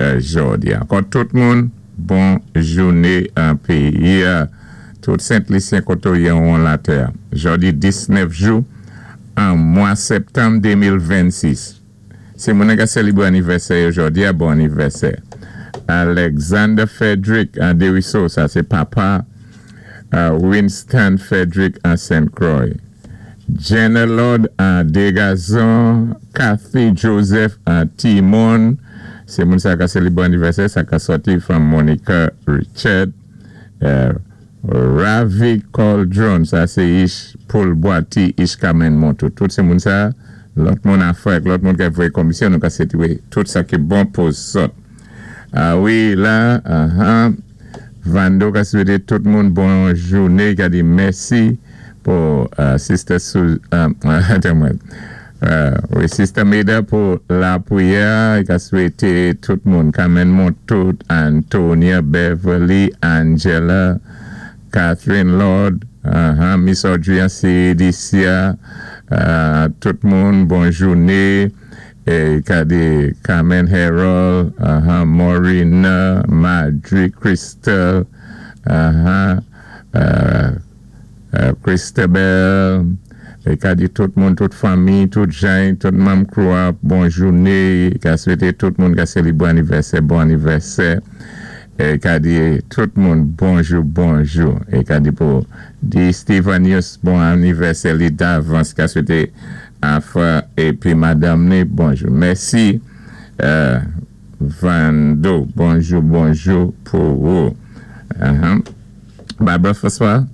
Jòdi. Ankò tout moun, bon jouné épi tout Sent Lisyen koté ou yé an latè. Jòdi 19 jou an mwa septanm 2026. Sé moun ka sélibwé anivèsè jòdi a, bon anivèsè. Alexander Frederick an Deriso, sa sé papa Winston Frederick an Saint Croix. Jenna Lord an Degazon, Kathy Joseph an Timon, sé moun sa ka sélibwé anivèsè, sa ka sòti from Monica Richard. Ravi Cauldron, sa sé ich Paul Boiti, ich Carmen Montou. Tout sé moun sa, lòt moun afè, lòt moun ki voyé komisyon, nou ka swété tout sa ki bon pou zòt. A wi, la, uh Vando ka swété tout moun bon jouné, ka di mèsi pou Sister Su, tann wi, Sister Meda pou lapriyè, ka swété tout moun, Carmen Montout, Antonia, Beverly, Angela, Catherine Lord, Miss Audrey CDC, tout moun, bon jouné, é ka di Carmen Harold, Maureen, Madry, Crystal, Christabel, é ka di tout moun, tout fanmi, tout jan, tout manm crew, bon jouné, ka swété tout moun ka sélibwé anivèsè, bon anivèsè, é ka di tout moun bonjou, bonjou, é ka di pou di Steven News, bon anivèsè li davans, ka swété Afra épi madanm ni, bonjou. Mèsi, Vando, bonjou, bonjou pou ou. Barbara François,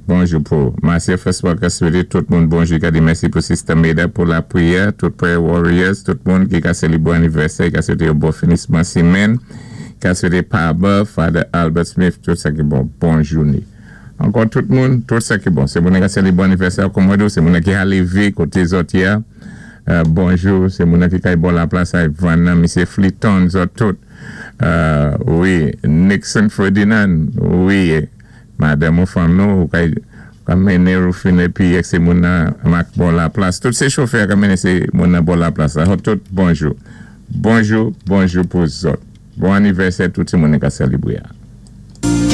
bonjou pou Marcia François ka swété tout moun bonjou, ka di mèsi pou Sister Meda pou lapriyè, tout prayer warriors, tout moun ki ka sélibwé anivèsè, ka swété yon bon finisman simenn, ka swété Paba, Father Albert Smith, tout sa ki bon, bon jouné. Ankò tout moun, tout sa ki bon. Sé moun ka sélibwé anivèsè kòm sé moun ki lévé koté zòt yé, bonjou, sé moun ki kay bò laplas ay vann misyé Fliton, zòt tout. Wi, Nixon Ferdinand, wi, madanm ou fanm nou, ou kay ka mennen Rufine épi sé moun nan mak bò laplas. Tout sé chofè ka mennen sé moun nan bò laplas. Tout bonjou. Bonjou, bonjou pou zòt. Bon anivèsè tout moun ka sélibwé.